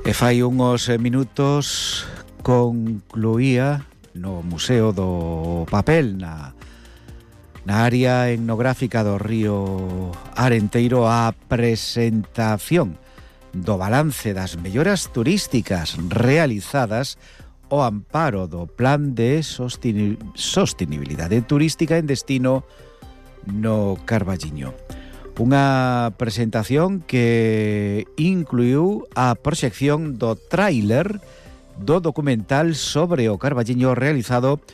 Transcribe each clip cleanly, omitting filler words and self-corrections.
E fai uns minutos concluía no Museo do Papel na área etnográfica do río Arenteiro a presentación do balance das melloras turísticas realizadas ao amparo do Plan de Sostenibilidade Turística en destino no Carballiño. Unha presentación que incluiu a proxección do tráiler do documental sobre o Carballiño realizado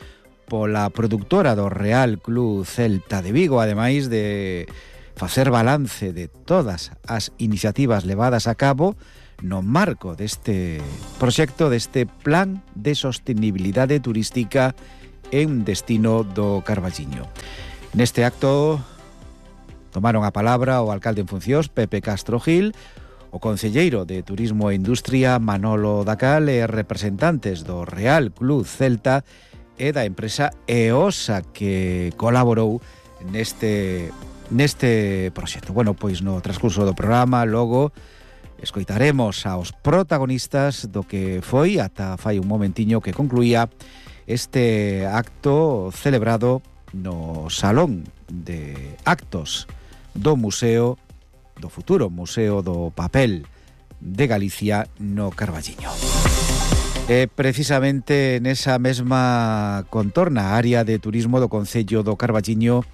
pola produtora do Real Club Celta de Vigo, ademais de facer balance de todas as iniciativas levadas a cabo no marco deste proxecto, deste Plan de Sostenibilidade Turística en destino do Carballiño. Neste acto tomaron a palabra o alcalde en funcións, Pepe Castro Gil, o concelleiro de Turismo e Industria, Manolo Dacal, e representantes do Real Club Celta e da empresa EOSA que colaborou neste proxecto. Bueno, pois no transcurso do programa logo escoitaremos aos protagonistas do que foi ata fai un momentiño que concluía este acto celebrado no Salón de Actos do Museo, do futuro Museo do Papel de Galicia no Carballiño. E precisamente nesa mesma contorna área de turismo do Concello do Carballiño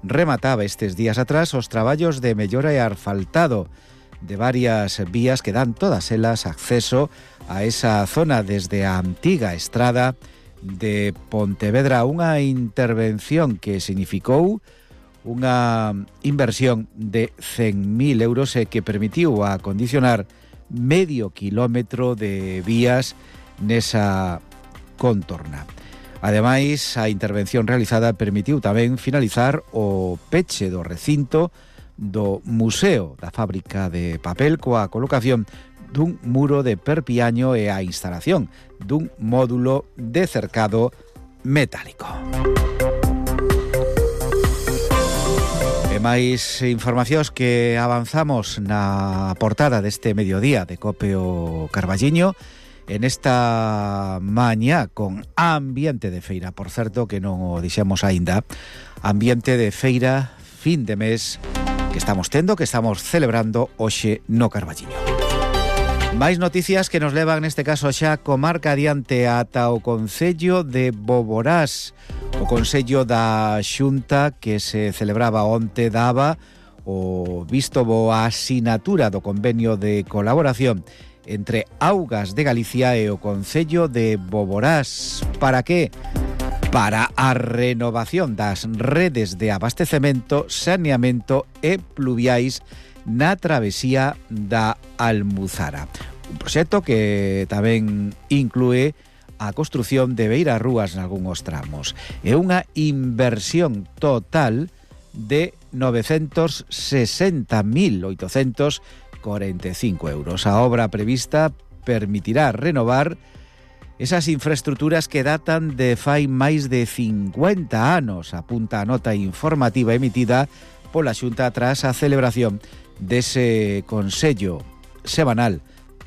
remataba estes días atrás os traballos de mellora e asfaltado de varias vías que dan todas elas acceso a esa zona desde a antiga estrada de Pontevedra, unha intervención que significou unha inversión de 100.000 euros e que permitiu acondicionar medio kilómetro de vías nesa contorna. Ademais, a intervención realizada permitiu tamén finalizar o peche do recinto do Museo da Fábrica de Papel coa colocación dun muro de perpiaño e a instalación dun módulo de cercado metálico. E máis informacións que avanzamos na portada deste mediodía de Cope o Carballiño en esta mañá con ambiente de feira. Por certo, que non o dixemos aínda, ambiente de feira fin de mes que estamos tendo, que estamos celebrando hoxe no Carballiño. Máis noticias que nos levan neste caso xa comarca adiante ata o Concello de Boborás. O Consello da Xunta que se celebraba onte daba o visto bo a asinatura do convenio de colaboración entre Augas de Galicia e o Concello de Boborás. Para que? Para a renovación das redes de abastecemento, saneamento e pluviais na travesía da Almuzara. Un proxecto que tamén inclúe a construción de beirarrúas nalgúns tramos. É unha inversión total de 960.845 euros. A obra prevista permitirá renovar esas infraestructuras que datan de fai máis de 50 anos, apunta a nota informativa emitida pola Xunta tras a celebración dese Consello semanal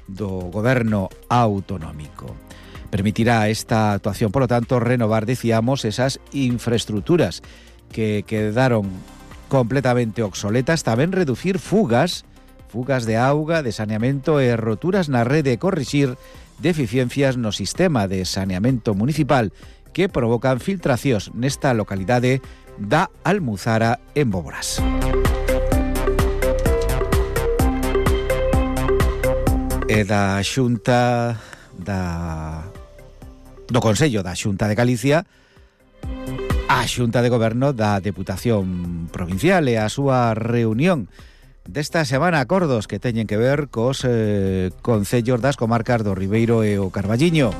do Goberno Autonómico. Permitirá esta actuación, por lo tanto, renovar, decíamos, esas infraestructuras que quedaron completamente obsoletas, tamén reducir fugas de auga, de saneamento e roturas na rede e corrixir deficiencias no sistema de saneamento municipal que provocan filtracións nesta localidade da Almuzara en Boborás. E da Xunta do Consello da Xunta de Galicia a Xunta de Goberno da Deputación Provincial e a súa reunión desta semana, acordos que teñen que ver cos concellos das comarcas do Ribeiro e o Carballiño.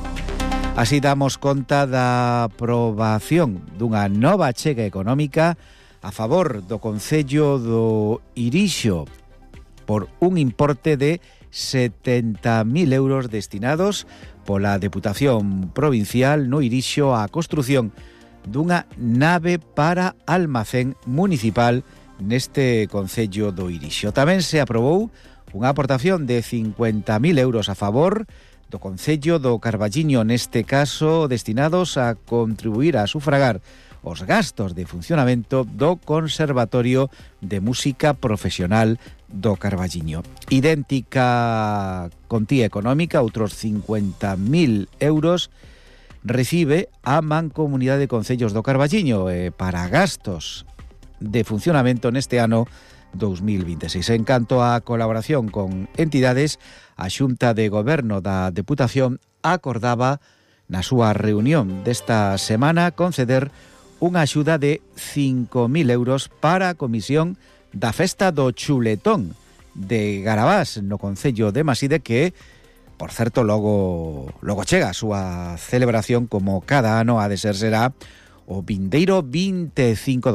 Así damos conta da aprobación dunha nova achega económica a favor do Concello do Irixo por un importe de 70.000 euros destinados pola Deputación Provincial no Irixo á construción dunha nave para almacén municipal neste Concello do Irixo. Tamén se aprobou unha aportación de 50.000 euros a favor do Concello do Carballiño, neste caso destinados a contribuir a sufragar os gastos de funcionamento do Conservatorio de Música Profesional do Carballiño. Idéntica contía económica, outros 50.000 euros, recibe a Mancomunidade de Concellos do Carballiño para gastos de funcionamento neste ano 2026. En canto á colaboración con entidades, a Xunta de Goberno da Deputación acordaba na súa reunión desta semana conceder unha axuda de 5.000 euros para a comisión da Festa do Chuletón de Garabás no concello de Maside, que, por certo, logo chega a súa celebración, como cada ano ha de ser, será o vindeiro 25